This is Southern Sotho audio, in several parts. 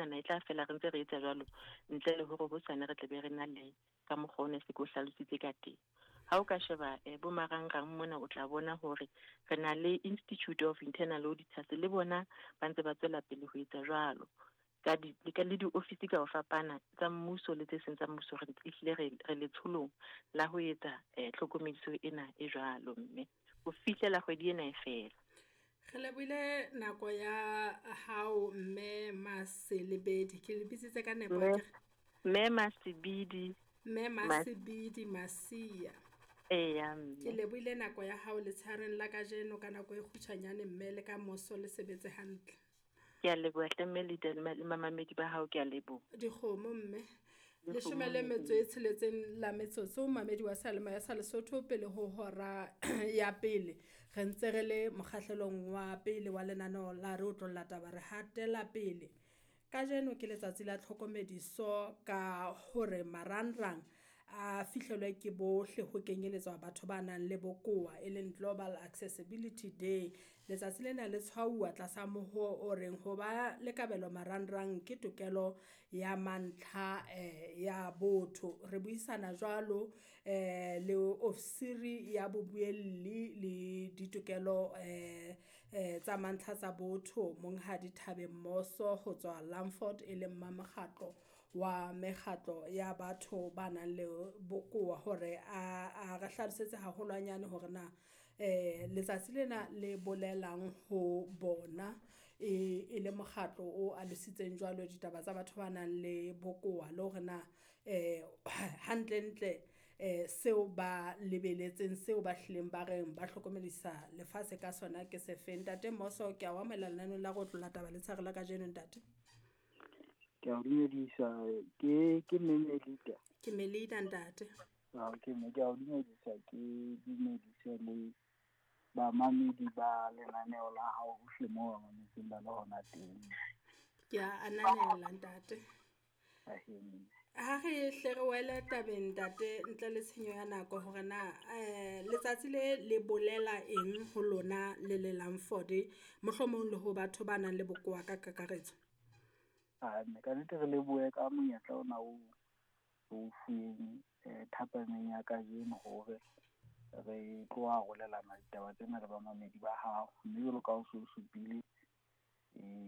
enana e tla fela re ntse re etsa jwalo ntle le hore hosane re tle be re na le ka mokgwa o ne se ke o hlalositse ka teng. Ha o ka sheba bo marangrang mona, o tla bona hore re na le Institute of Internal Auditors, le bona ba ntse ba tswela pele ho etsa jwalo. Ka di le ka le diofisi ka ho fapana tsa mmuso le tse seng tsa mmuso, re ehlile re letsholong la ho etsa tlhokomediso ena e jwalo, mme ho fihlela kgwedi ena e fela. Re lebohile nako ya hao, mme Maselebedi. Ke le bitsitse ka nepo Mme akere? Mme Masebidi. Mme Masebidi Masia. Eya, Ke mme. lebohile nako ya hao letshehareng la kajeno ka nako e kgutshwanyane, mme le ka moso le sebetse hantle. Ke a leboha hle mme le mamamedi ba hao, ke a leboha. Dikgomo, mme. Dikgomo, Leshome le mme. metso e tsheletseng la metsotso, mamedi wa seyalemoya sa Lesotho pele ho hora ya pele. Re ntse re le mokgahlelong wa pele wa lenaneo la re otlolla taba, re hatela pele. Kajeno ke letsatsi la tlhokomediso ka hore marangrang a fihlelwe ke bohle ho kenyeletswa batho ba nang le bokowa, e leng Global Accessibility Day. Letsatsi lena le tshwauwa tlasa moho o reng ho ba le kabelo marangrang ke tokelo ya mantlha ya botho. Re buisana jwalo le ofisiri ya bobuelli le ditokelo tsa mantlha tsa botho, Monghadi Thabeng Moso ho tswa Langford, e leng Mamokgatlo wa mekgatlo ya batho ba nang le bokowa, hore a re hlalosetse haholwanyane hore na letsatsi lena le bolelang ho bona e le mokgatlo o alositseng jwalo ditaba tsa batho ba nang le bokowa, le hore na hantlentle seo ba lebeletseng, seo ba hlileng ba reng ba hlokomedisa lefatshe ka sona ke sefeng. Ntate Moso, ke a o amohela lenaneong la re otlolla taba letshehare la kajeno, ntate. Ke a o dumedisa, ke mme Melita. Ke Melita, ntate. Ah, ke mme, ke a o dumedisa, ke dumedise le bamamedi ba lenaneo la hao hohle moo ba mametseng ba le hona teng. Ke a ananela, ntate. Ahee. Ha re hle re wele tabeng, ntate, ntle le tshenyo ya nako hore na letsatsi le le bolela eng ho lona le le Langford, mohlomong le ho batho ba nang le bokowa ka kakaretso. Ah, mme ka nnete re lebohe ka monyetla ona o o fuweng thapameng ya kajeno hore re tlo arolelana ditaba tsena le bamamedi ba hao. Mme jwalo ka ha o so supile,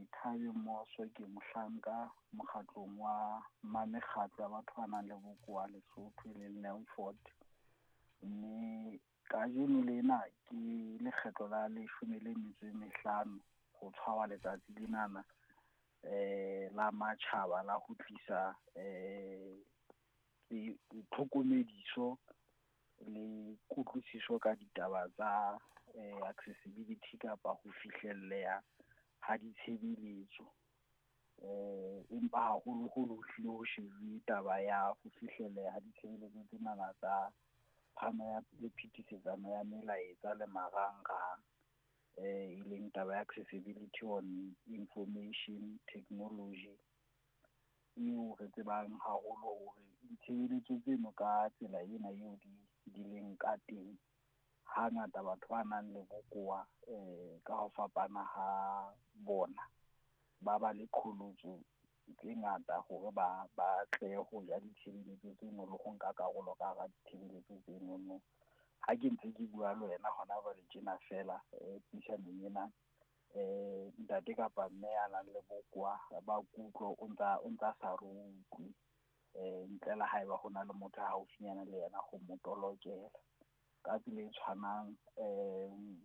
Thabeng Moso ke mohlanka mokgatlong wa mamekgatlo ya batho ba nang le bokowa Lesotho, e leng Langford. Mme kajeno lena ke lekgetlo la 15 ho tshwarwa letsatsi lenana la matjhaba la ho tlisa tlhokomediso le kutlwisiso ka ditaba tsa accessibility kapa ho fihlelleha ha ditshebeletso. Empa haholoholo ho hlile ho shebuwe taba ya ho fihlelleha ha ditshebeletso tsenana tsa phano ya le phetisetsano ya melaetsa le marangrang, e leng taba ya accessibility on information technology, eo re tsebang haholo hore ditshebeletso tseno ka tsela ena eo di leng ka teng, hangata batho ba nang le bokowa ka ho fapana ha bona ba ba le qholotso tse ngata hore ba tle ho ja ditshebeletso tseno le ho nka karolo ka hara ditshebeletso tseno. Ha ke ntse ke bua le wena hona jwale tjena fela, puisanong ena, ntate kapa mme ya nang le bokowa ba kutlo o ntsa sa re utlwe, ntle le haeba ho na le motho a haufinyana le yena ho mo tolokela. Ka tsela e tshwanang,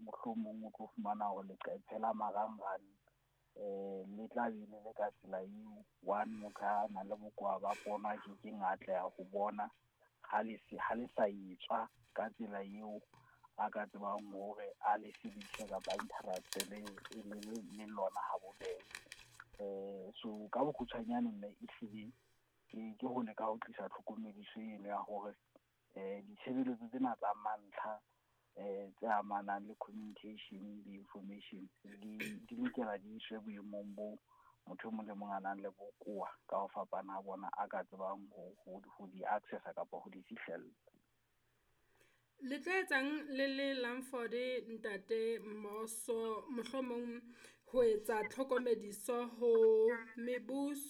mohlomong o tlo fumana hore leqephe la marangrang le tla be le le ka tsela eo one motho a nang le bokowa ba pono a kekeng a atleha ho bona ha le sa etswa ka tsela eo a ka tsebang hore a le sebedise kapa a interact-e le lona ha bobebe. So ka bokgutshwanyane mme ehlile ke ho leka ho tlisa tlhokomediso eno ya hore ditshebeletso tsena tsa mantlha tse amanang le communication le information di lokela di iswe boemong bo motho e mong le mong a nang le bokowa ka ho fapana ha bona a ka tsebang ho di accessa kapa ho di fihlella. Le tlo etsang le le Langford, ntate Moso, mohlomong ho etsa tlhokomediso ho mebuso?